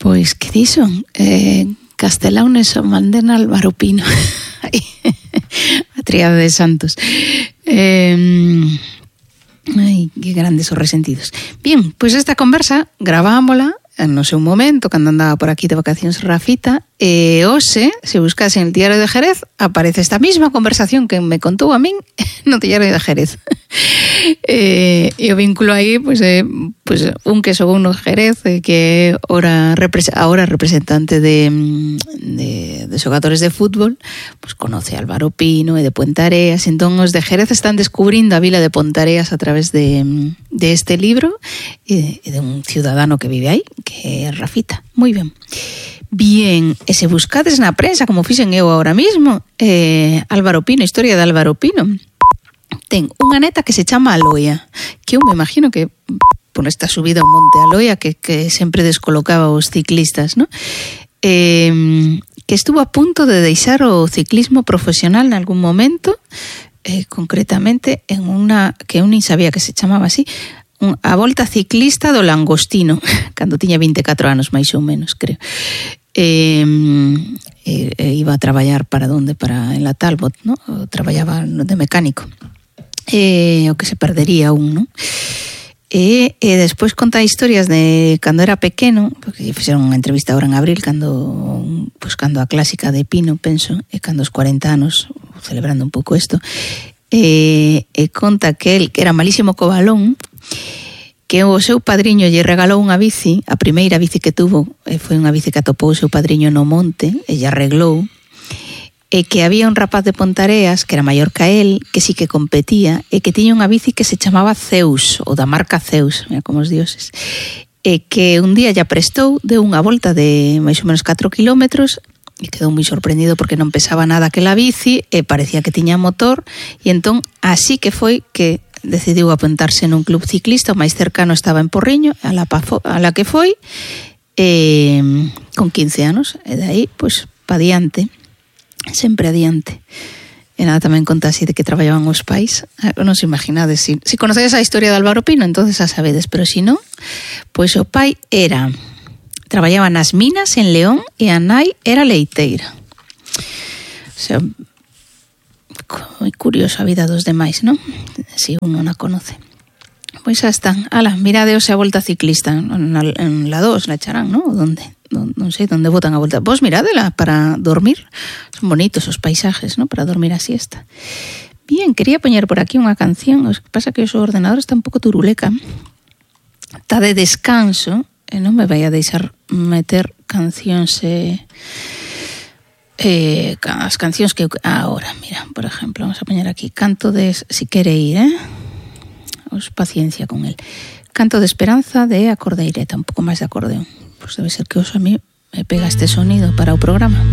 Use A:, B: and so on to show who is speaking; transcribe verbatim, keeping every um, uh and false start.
A: Pois, que dixo? Eh, Castelao Nelson Mandela, Álvaro Pino. A tríada de santos. Eh, ai, que grandes os resentidos. Bien, pois esta conversa gravámola no seu momento, cando andaba por aquí de vacacións Rafita, e hoxe, se buscas en el Diario de Jerez, aparece esta misma conversación que me contou a min no Diario de Jerez. E, e o vínculo aí, pois, é, pois, un que son no Jerez, que ora, ahora representante de, de, de xogadores de fútbol, pois conoce a Álvaro Pino e de Puentareas, entón os de Jerez están descubrindo a vila de Pontareas a través de, de este libro e de, de un ciudadano que vive aí, que é Rafita. Moi ben. Bien, e se buscades na prensa, como fixen eu ahora mismo, eh, Álvaro Pino, historia de Álvaro Pino, ten unha neta que se chama Aloia, que eu me imagino que por esta subida ao monte Aloia que, que sempre descolocaba os ciclistas, ¿no? Eh, que estuvo a punto de deixar o ciclismo profesional en algún momento, eh, concretamente en unha que eu nin sabía que se chamaba así, a Volta Ciclista do Langostino, cando tiña vinte e catro anos, máis ou menos, creo. Eh, eh, iba a traballar para onde? Para en la Talbot, ¿no? O traballaba de mecánico. Eh, o que se perdería un, ¿no? E, e despois conta historias de cando era pequeno, porque fixeron unha entrevista ahora en abril, cando, pues, cando a clásica de Pino, penso, e cando os cuarenta anos, celebrando un pouco isto, e, e conta que el, que era malísimo co balón, que o seu padriño lle regalou unha bici, a primeira bici que tuvo foi unha bici que atopou o seu padriño no monte, e lle arreglou, e que había un rapaz de Pontareas, que era maior que el, que sí que competía, e que tiña unha bici que se chamaba Zeus, ou da marca Zeus, mira como os dioses, e que un día lla prestou, deu unha volta de máis ou menos catro kilómetros, e quedou moi sorprendido porque non pesaba nada aquela bici, e parecía que tiña motor, e entón así que foi que decidiu apuntarse nun club ciclista, o máis cercano estaba en Porriño, a la, a la que foi, eh, con quince anos, e de aí, pois, pa diante, sempre adiante. E nada, tamén conta así de que traballaban os pais, non se imaginades, si, si conocedes a historia de Álvaro Pino, entonces a sabedes, pero si non, pois o pai era, traballaba nas minas en León, e a nai era leiteira. O sea, moi curiosa a vida dos demais, non? Si uno na conoce. Pois xa están. Ala, miradeos a Volta Ciclista en la, en la dos, la echarán, non? Onde? Non, non sei onde botan a volta. Vos miradela para dormir. Son bonitos os paisajes, non? Para dormir a siesta. Bien, quería poñer por aquí unha canción. O que pasa que o seu ordenador está un pouco turuleca. Está de descanso e non me vai a deixar meter cancións e... Eh, as cancións que ahora, mira, por exemplo, vamos a poñer aquí Canto de, si quere ir, eh? Os paciencia con el. Canto de Esperanza de Acordeireta, un pouco máis de acordeón. Pois debe ser que os a mí me pega este sonido para o programa.